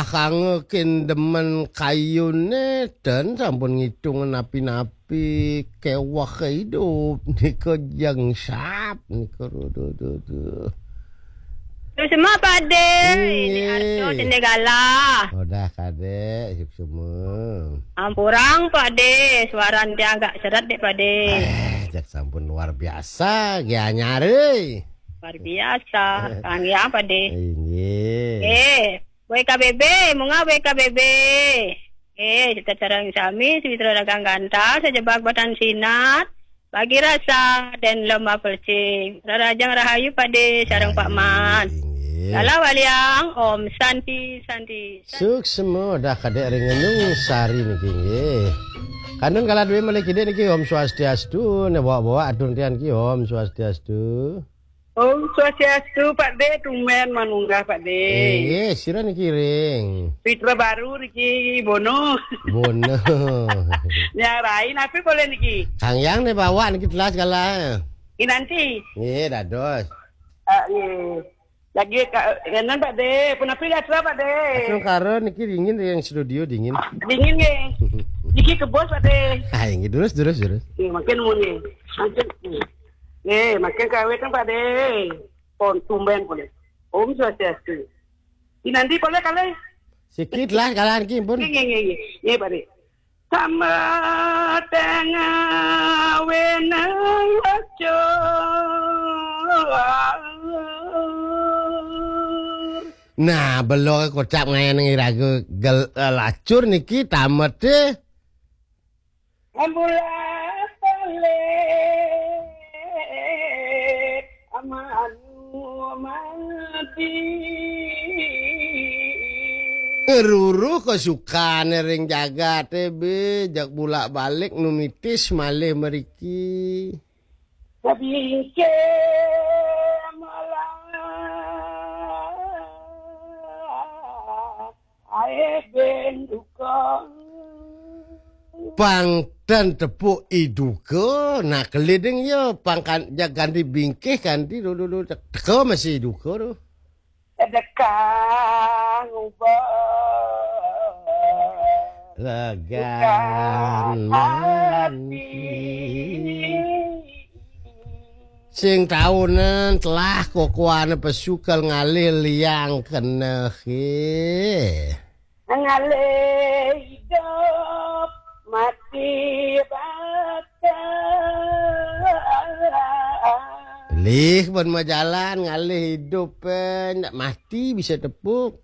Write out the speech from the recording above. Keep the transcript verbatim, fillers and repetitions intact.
Kangge kin demen kayune, ten sampun ngitung napi-napi keweh idup nika jeng sap nika. Duh, duh, duh, duh. Suksma, Pak De. Ini Nggih. Arjo Sendegala. Udah, Kadek, suksma. Ampurang, Pak De, suaran tiang agak seret deh, Pak De. Eh, jak sampun luar biasa, nggih anyar, euy. Luar biasa, kanggih, Pak De. Inggih. Eh, W K B B, munggah W K B B. Eh, kita sareng sami, Sumitra Dagang Gantar, Sejebak Batan Sinat, Bagi Rasa, dan Lomba Pelcing. Rarajang Rahayu, Pak De, sareng Pak Man. Inggih. Lala Waliang, Om Santi, Santi, Santi. Suksma, dah Kadek ring Ngenung Sari niki, nggih. Kantun kala duwe malih kidik niki, Om Swastiastu, ne bawa-bawa atur tian niki, Om Swastiastu. Om Swastiastu, Pak De, tumben manunggah, Pak De. Inggih, sira niki ring? Fitra Baru niki, Bono. Bono. Nyarain apa boleh niki? Kang Yang ne bawa niki telas kala. Inanti. Nggih, dados. Ah, nggih. Lagi ka, ngenen, Pak De. Punapi acara, Pak De? Astungkara niki dingin yang studio dingin. Dingin nggih. Niki kebos, Pak De. Ah, inggih, terus, terus, terus. Nggih, makin muni. Makin. Nggih, makin kawit kan, Pak De. Pon tumben boleh. Om Swastiastu. Inanti boleh kali? Sikit lah, kala niki pun. Nggih, nggih, nggih, nggih. Nggih, Pak De. Sama tengah wenang lacur. Nah, belo kocap ngayan iraga gel, eh, lacur niki tamete. Ambulan balik amanu mati. Ngeruruh kesukane ring jagate be, jak bulak-balik numitis malih mriki. Tapi ke malah ae ben duka. Pang ten tepuk iduka, nak keliding ya, pang kan, jak ganti bingkih, ganti dulu, dulu, teka masih iduka tu. Sedekah ngubah legan buka mati. Hati. Sing taunan telah kokoane pesukel ngalih liang kenehe. Ngalih idup mati bakal. Lih pun majalan ngalih idup, eh, ndak mati bisa tepuk.